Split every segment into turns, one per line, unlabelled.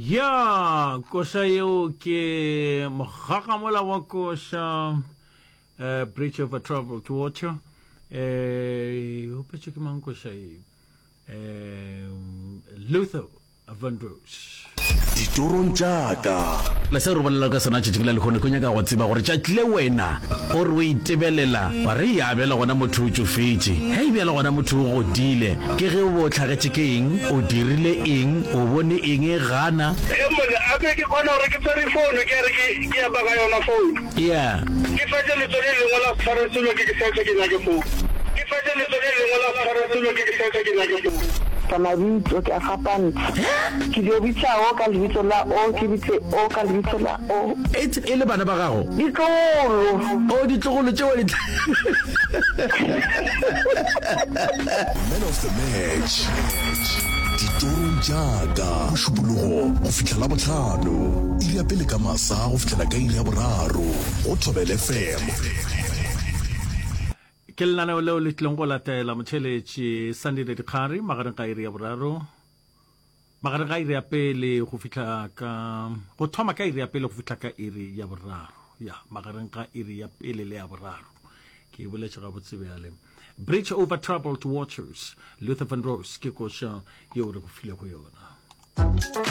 Ya, koša yeo ke mogagamola wa koša uh, Bridge over Troubled Water. Eh, opetše ke mang koša ye? Eh, Luther Vandross.
Ditorong tša ka.
Le seo re bolelago ka sona tšatšing la lehono, ke nyaka go tseba gore tšatši le wena o re o itebelela wa re ya bjale gona motho o tšofetše, hei bjale gona motho o godile, ke ge o be o hlagetše ke eng, o dirile eng, o bone eng e gana.
He monna, a ke ke kgona gore ke tshwere founu ke re ke ke epa ka yona founu.
Yeah.
Ke fetše letso le lengwe la se tshware selo ke ke search ke nyake founu. Ke fetše letso le lengwe la se tshware selo ke ke search ke nyake founu.
Ka mabitso ke a fapantšha. Ke dio bitša o ka lebitso la o, ke bitse o ka lebitso la o.
Etse e le bana ba gago?
Ditlogolo.
O, ditlogolo tšeo di.
Man of the match, ditorong tša ka, Mošupologo go fihla Labohlano, iri ya pele ka masa go fihlela ka iri ya boraro, go Thobela FM.
Ke lenaneo leo le tlileng go latela motheeletši Sandile Dikgari magareng ga iri ya boraro magareng ga iri ya pele go fihla ka go thoma ka iri ya pele go fihla ka iri ya boraro ya magareng ga iri ya pele le ya boraro ke e boletše gabotse bjale bridge over troubled waters luther van rose ke koša yeo re go filego yona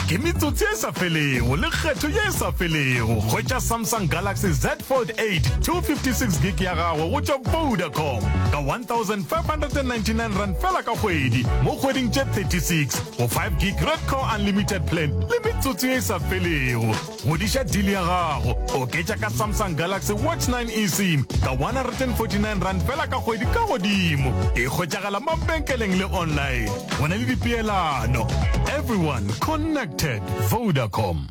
Ke metsotso ye sa felego le kgetho ye e sa felego. Hwetša Samsung Galaxy Z Fold 8 256 gig ya gago go tšwa Vodacom ka R1599 fela ka kgwedi mo kgweding tše 36 go 5 gig Redco Unlimited plan le metsotso ye e sa felego. Godiša deal ya gago, oketša ka Samsung Galaxy Watch 9 eSIM ka R149 fela ka kgwedi ka godimo. E hwetšagala mabenkeleng le online. Go na le dipeelano. Everyone connected. Vodacom.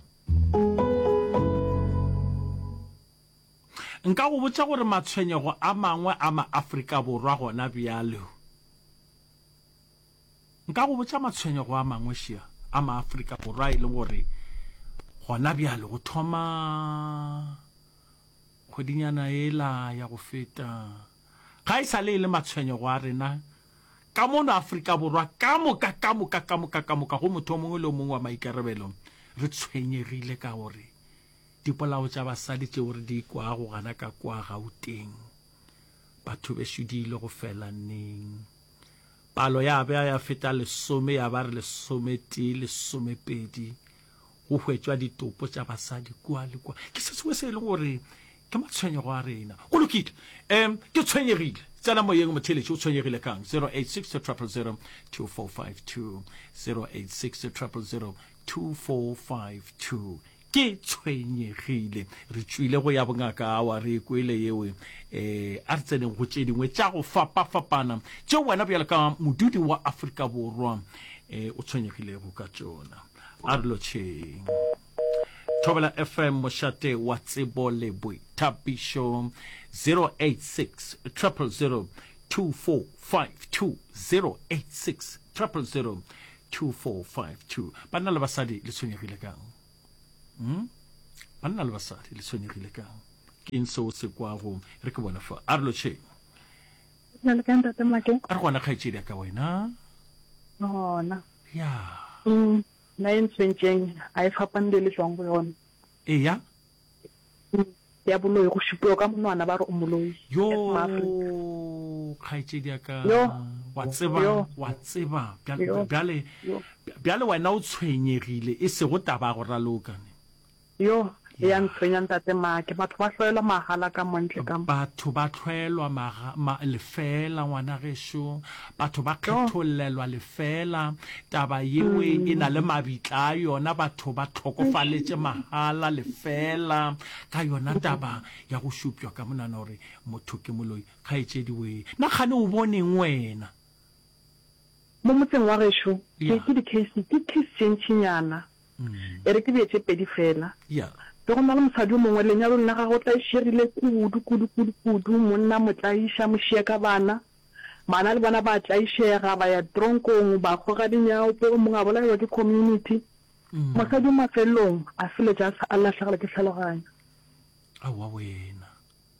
Nka go botša gore matshwenyego a mangwe a ma-Afrika Borwa gona bjalo. Nka go botša matshwenyego a mangwe šea a Maafrika Borwa e leng gore gona bjale go thoma kgwedinyana yela ya go feta ga e sa le e le matshwenyego a rena ka mono Afrika Borwa ka moka ka moka ka moka ka moka go motho o mongwe le o mongwe wa maikarabelo re tshwenyegile ka gore dipolao tša basadi tšeo re di kwago gana ka kwa Gauteng batho bešo di ile go fela neng? Palo ya ba ya feta lesome, ya ba re lesometee, lesomepedi, go hwetšwa ditopo tša basadi kua le kua. Ke se sengwe se e leng gore ke matshwenyego a rena. Go lokile. Um, ke tshwenyegile. Tsena moyeng motheeletši, o tshwenyegile kang? 086 000 2452, 086 000 2452. Ke tshwenyegile. Re tšwile go ya bongaka, awa, re e kwele yeo. E, a re tseneng go tše dingwe tša go fapafapana tšeo wena bjalo ka modudi wa Afrika Borwa e, o tshwenyegilego ka tšona. A re lotšheng. Thobela FM, mošate wa tsebo le boithabišo, 086 000 2452, 086 000 2452. Banna le basadi le tshwenyegile kang? Hmm? Banna le basadi le tshwenyegile kang? Ke eng seo se kwago? Re ke bone fa. A re lotšheng.
Na le kae ntate Make?
A re gona kgaetšedi ya ka wena.
Gona.
Ya.
Mm, nna e ntshwentšeng a e fapane le le tšwang go yona.
Eya.
Mm, ya boloi go šupiwa ka monwana ba re o moloi.
Yo, kgaetšedi ya ka. Wa tseba, wa tseba. Bjale, bjale wena o tshwenyegile e sego taba ya go raloka ne.
Yo, e ya ntshwenya ntate Make. Batho ba hloelwa mahala ka mo ntle ka mo.
Batho ba hloelwa maga, ma, lefeela ngwana gešo. Batho ba kgethollelwa lefeela. Taba yewe e na le mabitla a yona. Batho ba hlokofaletše mahala lefeela ka yona taba ya go šupšwa ka monwana gore motho ke moloi. Kgaetšedi wee, na kgane o boneng wena?
Mo motseng wa gešo, ke, ke di-case, ke case tše ntšinyana. E re ke bee tše pedi feela. Be go na le mosadi yo mongwe, lenyalong la gagwe o tlaišegile kudu, kudu, kudu, kudu. Monna a mo tlaiša, a mo šia ka bana. Bana le bona ba tlaišega, ba ya tronkong, ba goga dinyaope, o mongwe a bolaiwa ke community. Mosadi yo mafelelong a feletša a sa, a lahlegelwa ke tlhaloganyo.
Aowa wena.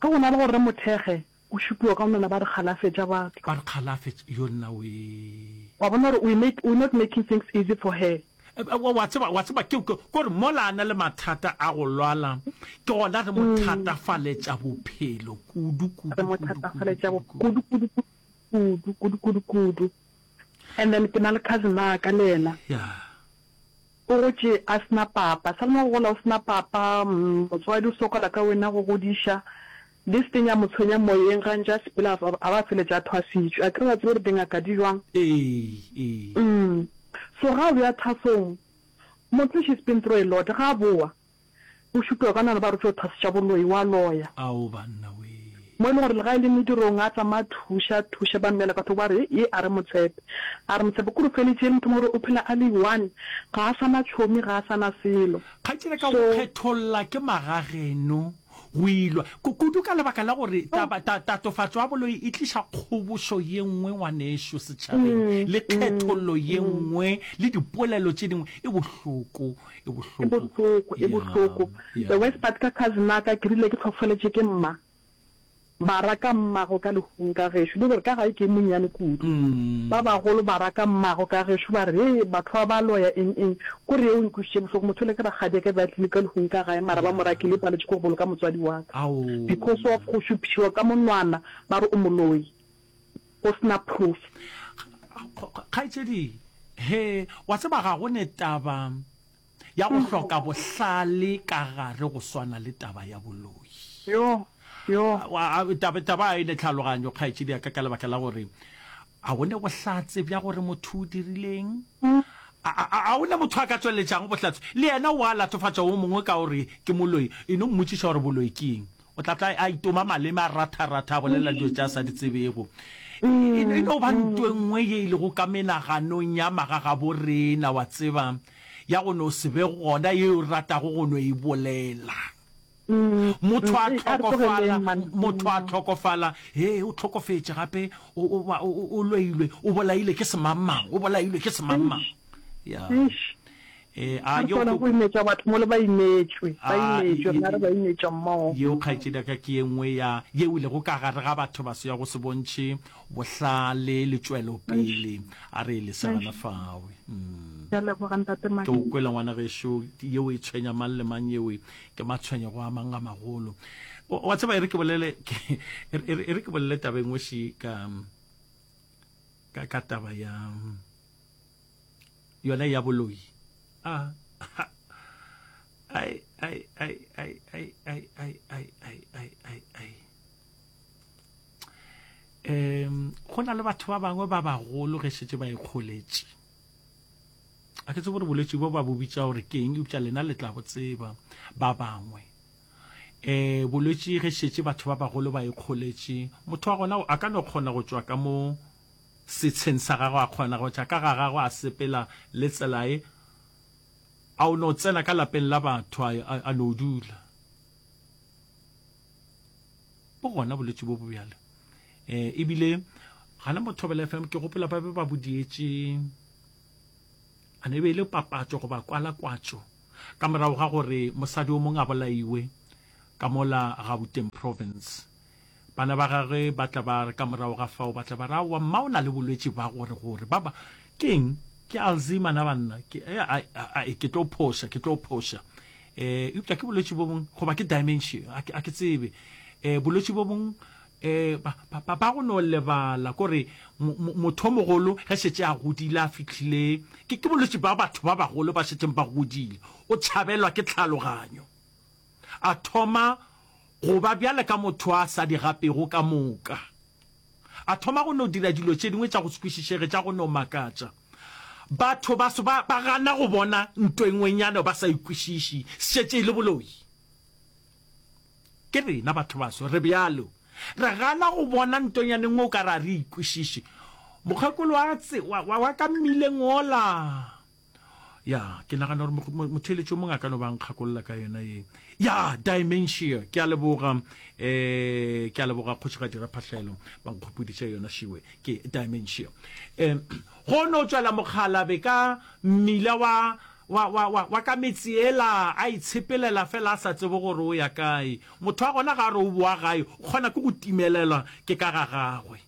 Ge go na le gore re mo thekge, o šupiwa ka monwana ba re kgalafetša batho.
Ba re kgalafetša, yo nna wee.
Wa bona gore we make, we're not making things easy for her.
Wa tseba, wa tseba, ke, ke, kore mola a na le mathata a go lwala, ke gona re mo thatafaletša bophelo kudu, kudu,
Re mo
kudu, kudu,
thatafaletša
kudu,
kudu,
kudu.
kudu, kudu, kudu, kudu, kudu. And then ke na le cousin ya ka le yena.
Yeah.
O gotše a se na papa. Sa le mo go gola o se na papa, motswadi o sokola ka wena go godiša. This thing ya mo tshwenya moyeng ga ntše a sepela a ba a feletša a thwasitšwe. Akere wa tseba gore dingaka di jwang?
Ee, ee.
Umm. So ga o ya thwasong, motho she's been through a lot. Ga a bowa, o šupiwa ka nana ba re o tšo thwasiša boloi, wa loya.
Ao banna wee.
Mo e leng gore le ga e le medirong a tsamaya a thuša, a thuša, ba mmeela ka thoko ba re ye a re mo tshepe, a re mo tshepe. Kore o feletše e le motho mo gore o phela a le one, ga a sa na tšhomi, ga a sa na selo.
Kgaetšedi ka go
So.
kgetholla ke magageno go ilwa, kudu ka lebaka la gore taba, ta, tatofatšo ya boloi e tliša kgobošo ye nngwe ngwanešu setšhabeng, le kgethollo ye nngwe, le dipolelo tše dingwe. E bohloko, e
E
bohloko.
bohloko, e
Ya,
bohloko.
ya.
The worst part ka cousin ya ka, ke rile ke hlokofaletše ke mma, ba raka mmago ka lehung ka gešo, le gore ka gae ke e monnyane kudu. Ba bagolo ba raka mmago ka gešo ba re, Hei, batho ba ba loya eng eng. Kore yeo e nkwešitše bohloko, motho yola ke rakgadiaka be a tlile ka lehung ka gae mara ba mo rakile e paletše ke go boloka motswadi wa ka because of go šupišiwa ka monwana ba re o moloi go se na proof.
Kgaetšedi, he, wa tseba ga go ne taba ya go hloka bohlale ka gare go swana le taba ya boloi.
Yo, yo.
Taba, taba e ne tlhaloganyo, kgaetšedi ya ka, ka lebaka la gore a go ne bohlatse bja gore motho o dirileng. A, a, a o ne motho a ka tšweletšago bohlatse? Le yena o a latofatša wo mongwe ka gore ke moloi. E no mmotšiša gore boloi ke eng. O tla tla a itoma maleme, a ratha-ratha, a bolela dilo tše a sa di tsebego. E, e no ba nto e nngwe ye e lego ka menaganong ya magagabo rena, wa tseba, ya go no se be gona ye o ratago go no e bolela. Motho a hlokofala, motho a hlokofala, hee, o hlokofetše gape, o, o, o, o loilwe, o bolailwe ke semangmang, o bolailwe ke semangmang. Ya.
Eh, a yo go imetša batho mo le ba imetšwe, ba imetšwe, rena re ba imetša mmogo.
Yeo kgaetšedi ya ka ke ye nngwe ya yeo e lego ka gare ga batho baso ya go se bontšhe bohlale le tšwelopele. A re e lese gana fawe. Mm.
Ke a leboga ntate
Ke o kwela ngwana gešo, yeo e tshwenya mang le mang, yeo ke matshwenyego a mang a magolo. Wa tseba e re ke bolele, e re ke bolele taba e nngwe še ka, ka, ka taba ya yona ya boloi a ai ai ai ai ai ai ai ai ai ai ai ai um go na le batho ba bangwe ba bagolo ge šetše ba ikgoletše a ke tsebe gore bolwetši bo ba bo bitša gore ke eng eupša lena le tla bo tseba ba bangwe um bolwetši ge šetše batho ba bagolo ba ikgoletše motho wa gona a ka no kgona go tšwa ka mo setsheng sa gagwe, a kgona go tša ka ga gagwe, a sepela le tsela e, a o no tsena ka lapeng la batho, a, a, a no dula. Bo gona bolwetši bo bo bjalo. Eh, ebile gana mo Thobela FM ke gopola ba be ba bo dietše, a ne e be e le papatšo goba kwalakwatšo ka morago ga gore mosadi o mongwe a bolaiwe ka mola Gauteng Province. Bana ba gagwe ba tla ba re ka morago ga fao, ba tla ba re, Aowa, mma o na le bolwetši ba gore, gore. Ba ba, ke eng? Ke Alzheimer na banna? Ke, eh, a, a, a, ke tlo phoša, ke tlo phoša. Eh, eupša ke bolwetši bo bong, goba ke dementia, a ke, a ke tsebe. Eh, bolwetši bo bong, eh, ba, ba, ba, ba go no lebala, kore mo, mo, motho o mogolo ge šetše a godile, a fihlile, ke, ke bolwetši ba batho ba bagolo ba šetšeng ba godile, o tšhabelwa ke tlhaloganyo. A thoma go ba bjale ka motho a sa di gapego ka moka. A thoma go no dira dilo tše dingwe tša go se kwešišege, tša go no makatša. Batho baso ba, ba gana go bona nto e ngwenyana ba sa e kwešiši, šetše e le boloi. Ke rena batho baso re bjalo. Re gana go bona ntonyana e nngwe o ka re a re e kwešiše. Mokgekolo wa, wa, wa, wa ka mmileng wola. Ya, ke nagana gore motheeletši o mongwe a ka no ba nkgakolola ka yona ye. Ya, dementia. Ke a leboga, eh, ke a leboga Kgošigadi Raphahlelo, ba nkgopoditše yona šiwe. Ke dementia. Eh, go no tšwela mokgalabe ka mmila wa, wa, wa, wa, wa ka metse yela, a itshepelela fela a sa tsebe gore o ya kae. Motho wa gona ga a re o boa gae, o kgona ke go timelelwa ke ka ga gagwe.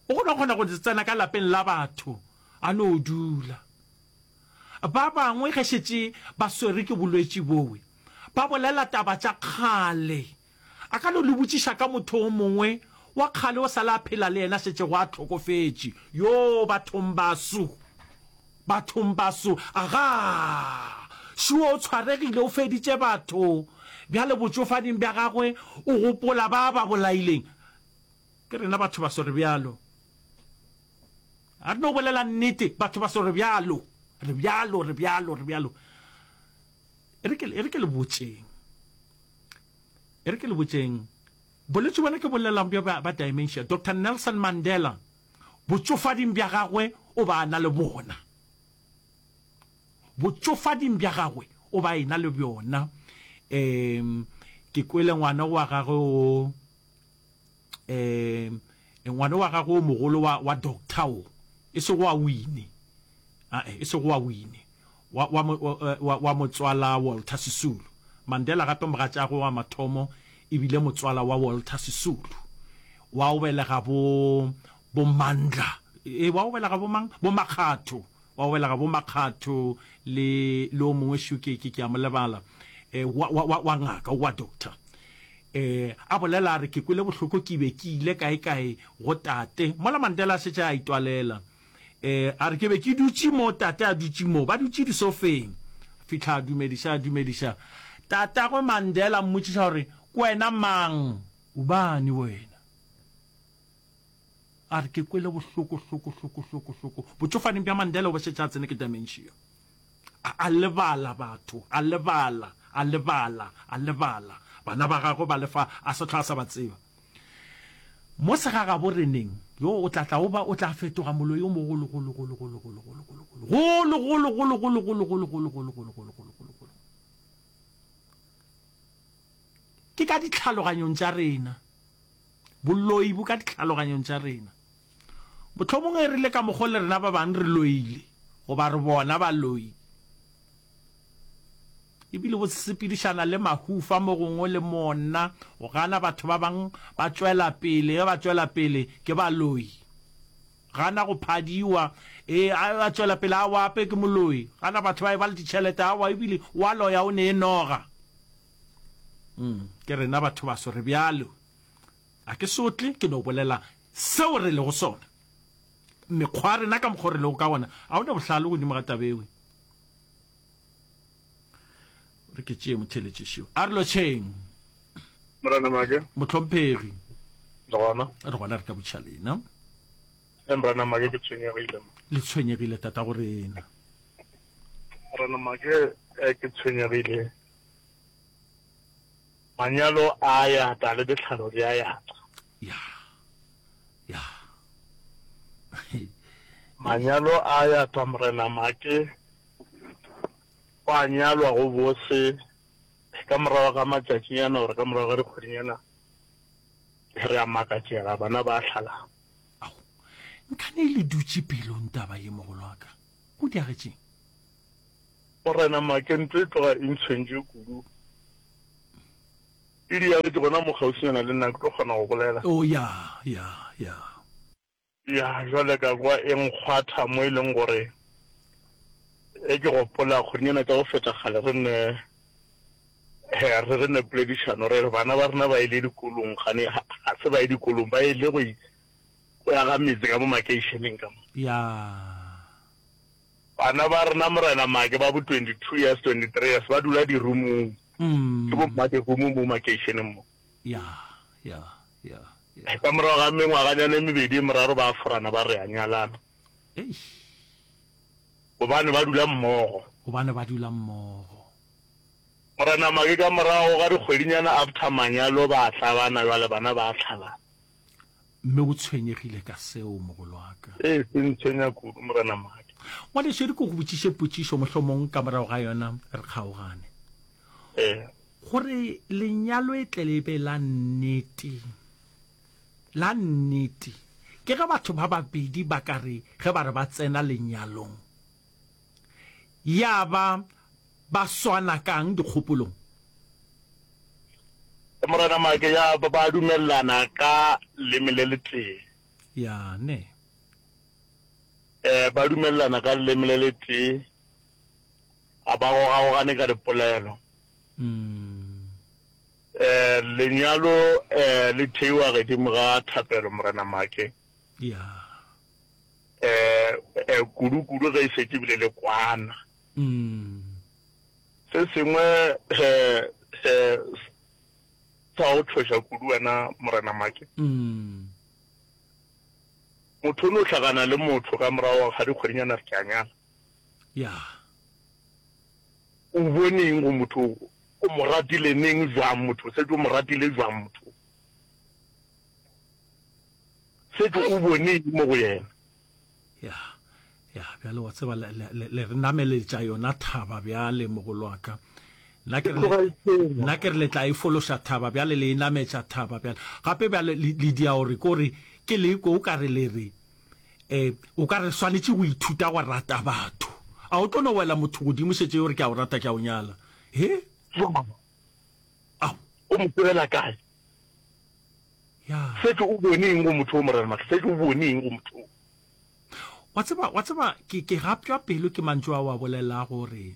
O kgona kgona go tsena ka lapeng la batho a no dula. Ba bangwe ge šetše ba swerwe ke bolwetši bowe, ba bolela taba tša kgale. A ka no le botšiša ka motho o mongwe wa kgale o sa le a phela le yena šetšego a hlokofetše. Yoo, bathong baso! Bathong baso! Agaa! Šuo o tshwaregile, o feditše batho. Bjale botšofading bja gagwe o gopola ba ba bolaileng. Ke rena batho baso re bjalo. A re no bolela nnete, batho baso re bjalo. Re bjalo, re bjalo, re bjalo. E re ke, e re ke le botšeng. E re ke le botšeng. Bolwetši bona ke bolelang bjo ba, ba dementia. Doctor Nelson Mandela, botšofading bja gagwe o ba a na le bona. Botšofading bja gagwe o ba ena le bjona. Um, ke kwele ngwana wa gagwe o, um, ngwana wa gagwe o mogolo wa, wa doctor o, e sego wa Winnie, ae, e sego wa Winnie, wa, wa, wa, wa motswala Walter Sisulu. Mandela gape mogatšagwe wa mathomo e bile motswala wa Walter Sisulu, wa o belega bo, bo Mandla, e, wa o belega bo mang? Bo Makgatho, wa o belega bo Makgatho le, le o mongwe šo ke, ke, ke a mo lebala, e, wa, wa, wa, wa ngaka, wa doctor. E, a bolela a re, Ke kwele bohloko ke be ke ile kaekae go tate. Mola Mandela a šetše a itwalela. E, a re, Ke be ke dutše mo, tate a dutše mo, ba dutše disofeng. A fihla a dumediša, a dumediša. Tatagwe Mandela a mmotšiša gore, Ke wena mang? O bani wena? A re, Ke kwele bohloko, hloko, hloko, hloko, hloko. Botšofading bja Mandela o be šetše a tsene ke dementia. A, a lebala batho, a lebala, a lebala, a lebala. Bana ba gagwe ba le fa, a se hlwa a sa ba tseba. Mo segagabo reneng, yo o tla tla o ba, o tla fetoga moloi o mogolo, golo, golo, golo, golo, golo, golo, golo, golo, golo, golo, golo, golo, golo, golo, golo, golo, golo, golo, golo. Ke ka ditlhaloganyong tša rena. Boloi bo ka ditlhaloganyong tša rena. Mohlomongwe e rile ka mokgo le rena ba bang re loile, goba re bona baloi. E bile bo sepedišana le mahufa mo gongwe le monna, go gana batho ba bang ba tšwela pele, ge ba tšwela pele ke baloi. Gana go phadiwa, e a tšwela pele a wape ke moloi. Gana batho ba e ba le ditšhelete, awa ebile wa loya o ne e noga. Mm, ke rena batho baso re bjalo. A ke sotle, ke no bolela seo re lego sona. Mekgwa ya rena ka mokgwa o re lego ka gona, a o ne bohlale godimo ga taba ewe. Re ke tšee motheletšešio. A re lotšheng.
Morena Make.
Mohlomphegi.
Re gona.
Re gona re ka botšha lena.
E Morena Make ke tshwenyegile.
Le tshwenyegile tata go rena.
Morena Make eh, ke tshwenyegile. Manyalo a ya ta le ditlhalo di a ya ta.
Ya. Ya.
Manyalo a ya ta Morena Make. Gwa nyalwa go bose ka morago ga matšatšinyana gore ka morago ga dikgwedinyana re a makatšega bana ba hlalana.
Ao, nkane le dutše pelong taba ye mogolo wa ka. Go diagetšeng?
Morena Make, ntlo e tloga e ntshwentše kudu. E diagetše gona mo kgauswinyana le nna, ke tlo kgona go bolela.
Oh, ya, ya, ya.
Ya, jwale ka kwa e nkgwatha mo e leng gore ge ke gopola kgwedinyana tša go feta kgale re ne re re ne poledišano re re bana ba rena ba ile dikolong gane ga se ba ye dikolong ba ile go go ya ga metse ka mo makeišeneng ka mo.
Ya.
Bana ba rena Morena Make ba bo 22 years, 23 years ba dula dirumong. Ke bo mma dirumo mo makeišeneng mo.
Ya, ya, ya,
ya. Ka morago ga mengwaganyana e mebedi e meraro ba forana ba re a nyalana.
Eish.
Gobane ba dula mmogo.
Gobane ba dula mmogo.
Morena Make ka morago ga dikgwedinyana after manyalo ba tlabana jwale bana ba tlhalana.
Mme o tshwenyegile ka seo, mogolwaka.
Ee, se ntshwenya kudu, Morena Make.
Ngwanešu, e re ke go botšiše potšišo, mohlomong ka morago ga yona re kgaogane.
Ee.
Gore lenyalo e tle le be la nnete, la nnete, ke ge batho ba babedi ba ka re ge ba re ba tsena lenyalong, ya ba ba swana ka'ng dikgopolong?
Morena Make, Ya ba ba dumelelana ka leme le letee.
Ya, ne.
Eh, ba dumelelana ka leme le letee. Ga ba gogagogane ka dipolelo. Eh, lenyalo eh, le theiwa gedimo ga thapelo, Morena Make.
Ya.
Eh, eh, kudu-kudu ge e šetše bile le kwana. Se sengwe eh, eh, sa go tšhoša kudu wena, Morena Make. Motho o no hlakana le motho ka morago ga dikgwedinyana re ke a nyala.
Ya.
O bone eng go motho o? O mo ratile neng bjang motho o? Šetše o mo ratile bjang motho o? Šetše o bone eng mo go yena?
Ya, ya, bjale wa tseba, le, le, le, le re nameletša yona thaba bjale, mogolo wa ka. Nna ke re le, nna ke re le tla e fološa thaba bjale, le e nametša thaba bjale. Gape bjale le, le dia gore ko re, ke le ko o ka re le re, E, o ka re swanetše go ithuta go rata batho. A o tlo no wela motho godimo šetše o re ke a o rata ke a o nyala? He? Ao.
O mo tsebela kae?
Ya.
Šetše o bone eng go motho o, Morena Mahlo? Šetše o bone eng go motho o?
Wa tseba, wa tseba, ke, ke gapšwa pelo ke mantšu ao a bolelago gore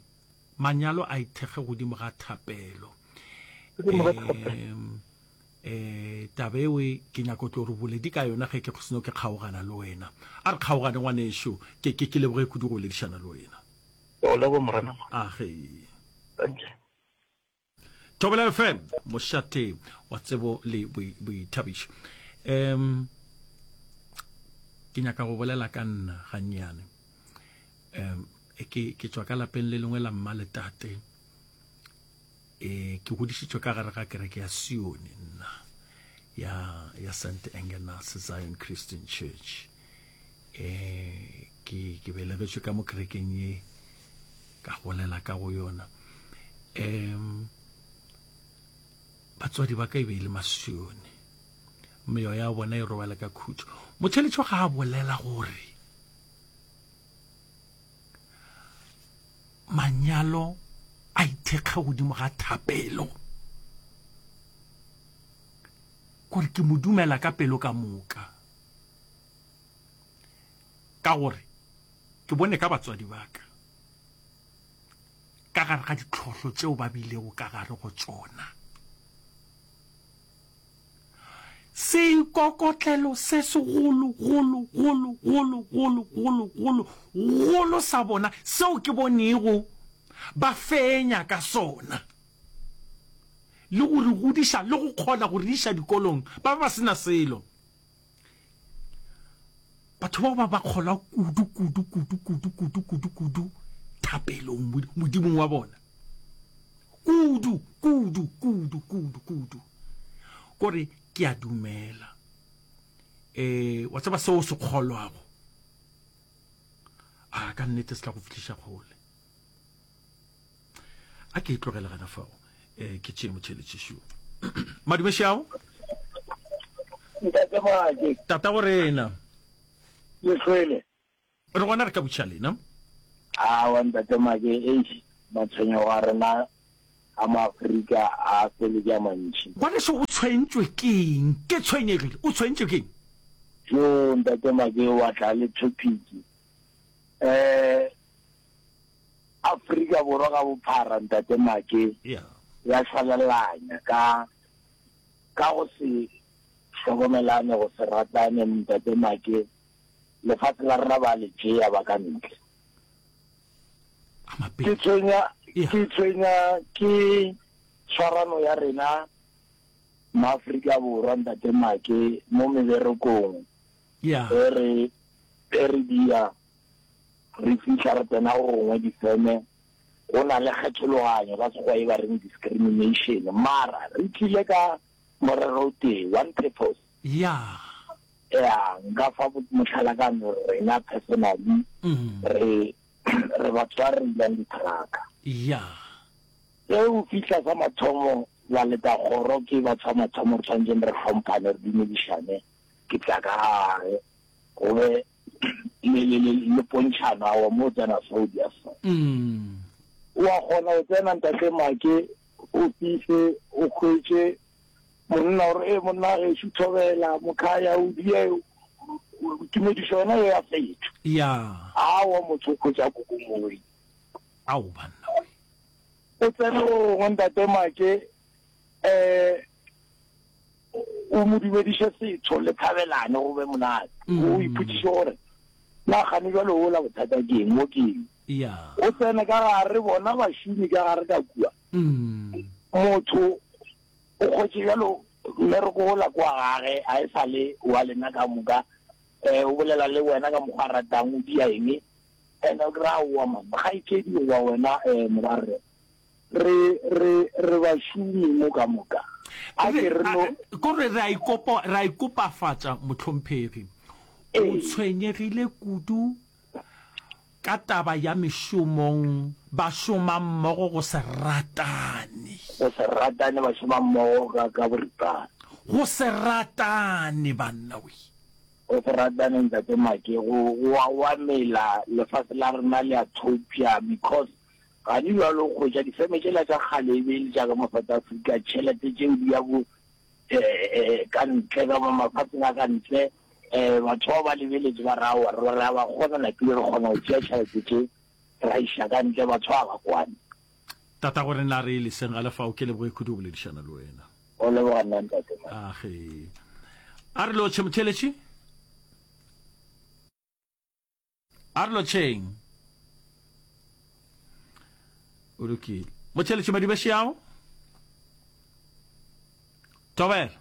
manyalo a ithekge godimo ga thapelo.
Godimo ga thapelo.
Em, E, taba eo ke nyaka go tlo re boledi ka yona ge ke seno ke kgaogana le wena. A re kgaogane ngwanešu, ke, ke, ke leboge kudu go boledišana le wena.
Ke go leboga Morena.
A ge.
Thank you.
Thobela FM, mošate wa tsebo le boithabišo. Um, ke nyaka go bolela ka nna gannyane. Um, ke, ke tšwa ka lapeng le lengwe la mma le tate. E, ke godišitšwe ka gare ga kereke ya Sione nna, ya, ya St. Engenas Zion Christian Church. E, ke, ke belegetšwe ka mo kerekeng ye, ka golela ka go yona. Um, batswadi ba ka e be e le Masione. Meoya ya bona e robale ka khutšo. Motheletšo ga a bolela gore Manyalo a ithekga godimo ga thapelo. Gore ke mo dumela ka pelo ka moka. Ka gore ke bone ka batswadi ba ka ka gare ga ditlhohlo tšeo ba bilego ka gare go tšona. Seikokotlelo se segolo, golo, golo, golo, golo, golo, golo, golo sa bona seo ke bonego ba fenya ka sona, le go re godiša le go kgona go re iša dikolong, ba be ba se na selo. Batho bao ba ba kgolwa kudu, kudu, kudu, kudu, kudu, kudu, kudu thapelong, Modimong wa bona. Kudu, kudu, kudu, kudu, kudu. Kore ke a dumela. Eh, wa tseba seo o se kgolwago. A ka nnete se tla go fihliša kgole. A ke e tlogele gana fao. Eh, ke tšee motšheletšešo. Madume šao.
Ntate Make.
Tata go rena.
Le hlwele.
Re gona re ka butša lena.
Aowa ntate Make, eish matshwenyego a rena a maAfrika a fele ke a mantši.
Ngwaneso o tshwentšwe ke eng? Ke tshwenyegile. O tshwentšwe ke eng?
Joo ntate Make wa tla le topic. Eh Afrika Borwa ka bophara ntate Make ya šwalalanya ka ka go se hlokomelane go se ratane ntate Make. Lefase la rena ba le tšea ba ka ntle. Ke tshwenya, ke tshwenya ke tshwarano ya rena maAfrika Borwa ntate Make mo meberekong. E re e re dia re fihla re tsena go gongwe difeme go na le kgethologanyo ka sekgowa e ba reng discrimination mara re tlile ka morero o tee one purpose.
Ya.
Ya, nka fa mohlala ka no rena personally re re batho ba reilang ditrucka.
Ya.
Ge o fihla sa mathomo ba leta kgoro ke batho ba mathomo re tshwanetseng re hlomphane re dumedišane ke tla ka gare go be le le le le pontšhano awa mo o tsena so o dia so. Wa kgona go tsena ntate Make o fihle o hwetše Monna o re, Ee, monna gešo, thobela, mokhaya, o die, tumedišo yona ye ya fetšwa.
Ya.
Aowa, motho o hwetša kokomoi.
Ao, banna we.
O tsene go gongwe Ntate Make um o mo dumediše setho le thabelane go be monate. O ipotšiše gore na kgane bjalo wola bothata ke eng, mo ke eng. O tsene ka gare bona bašomi ka gare ka kua. Motho o kgwetše bjalo mmereko wola kwa gage a e sa le wa lena ka moka. Um o bolela le wena ka mokgwa a ratang, o dia eng. And o kry-a aowa man, kgaetšedi goba wena um morwarre, re, re, re bašomi mo ka moka. A ke re no.
Ko re re a ikopa, re a ikopafatša, mohlomphegi. O tshwenyegile kudu ka taba ya mešomong, ba šoma mmogo go se ratane.
Go se ratane, ba šoma mmogo ka, ka boripana.
Go se ratane, banna we.
Go se ratane Ntate Make go go a wa mela lefase la rena le a thopša because gane bjalo o kgwetša difeme tšela tša kgale e be e le tša ka mo South Africa tšhelete tšeo di ya bo eh, ka ntle ka mo mafatsheng a ka ntle um batho bao ba lebeletše ba re aowa re re a ba kgona napile re kgona go tšea tšhelete tše ra iša ka ntle batho ba ba kwane.
Tatago rena re leseng ga lefao ke leboge kudu go boledišana le wena.
O leboga nna ntate man.
Age. A re lotšhe motheeletši. A re lotšheng. O lokile. Motheeletši Madibešiao. Thobela.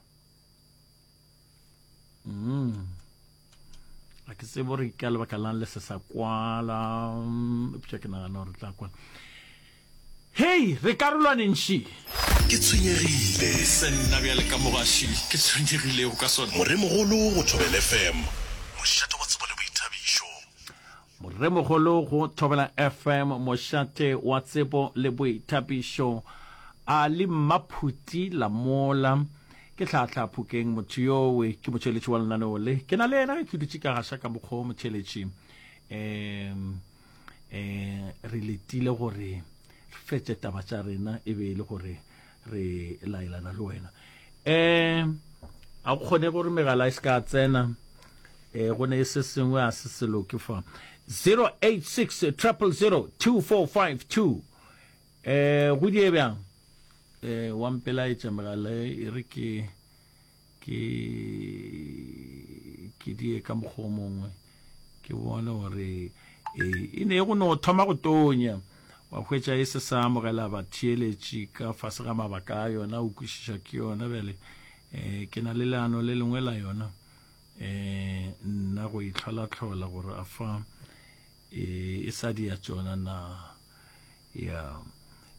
Mm. A ke tsebe gore ka lebaka lang le se sa kwala. Eupša ke nagana gore tla kwala. Hei, re karolwaneng ši.
Ke tshwenyegile.
Se nna bjale ka mogaši ke tshwenyegilego ka sona.
Moremogolo go Thobela FM, mošate wa tsebo le boithabišo.
Moremogolo go Thobela FM, mošate wa tsebo le boithabišo. Ali Mmaphuti Lamola. Ke hlahla Phokeng motho yowe ke motšheletši wa lenaneo le. Ke na le yena ge ke dutše ka gaša ka mokgwa wo motšheletši. Um um re letile gore re fetše taba tša rena e be e le gore re laelana le wena. Um a go kgone gore megala e se ka tsena um go ne se sengwe a se se loke fa 086 000 2452 um go die bjang Eh, wa mpelaetša megala e re ke ke ke die ka mokgwa o mongwe ke bone gore e, e ne go no thoma go tonya wa hwetša e se sa amogela batheeletši ka fase ga mabaka a yona o kwešiša ke yona bjale um ke na le leano le lengwe la yona um nna go itlholatlhola gore a fa e, e sa dia tšona na Ya,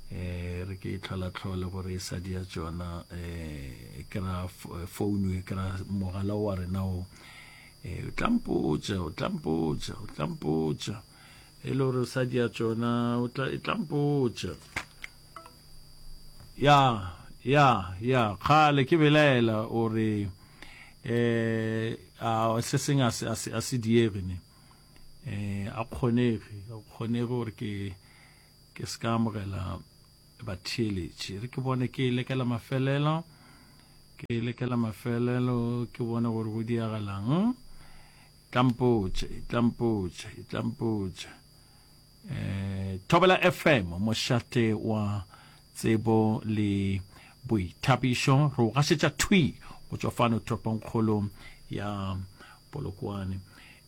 eh, re ke e tlholatlhole gore e sa dia tšona, eh, ke ra founu, e ke ra mogala wa rena o, eh, o tla mpotša, o tla mpotša, o tla mpotša, e le gore o sa dia tšona, o tla, e tla mpotša. Ya, ya, ya, kgale ke belaela o re, eh, a se seng a se, a se, a se diege ne. Eh, a kgonege, a kgonege gore ke ke se ka amogela batheeletši. Re ke bone ke e lekela mafelelo, ke e lekela mafelelo, ke bone gore go diagalang. Tla mpotše, tla mpotše, tla mpotše. Eh, Thobela FM, mošate wa tsebo le boithabišo, re o gašetša thwi go tšwa fano toropongkgolo ya Polokwane.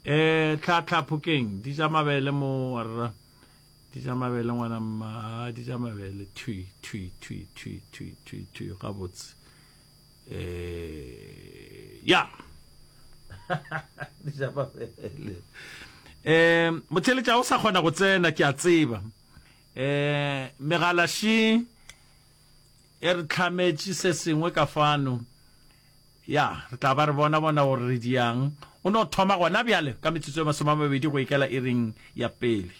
Eh, tlhatlha phokeng, di ja mabele mo warra. Di ja mabele ngwana mma, di ja mabele thwi thwi thwi thwi thwi thwi thwi gabotse. Eh, ya. Di ja mabele. Eh, motheletša o sa kgona go tsena ke a tseba. Eh, megala shi e re tlhametše se sengwe ka fano. Ya, re tla ba re bona bona gore re diang. O no thoma gona bjale ka metsotso e 20 go ikela iring ya pele.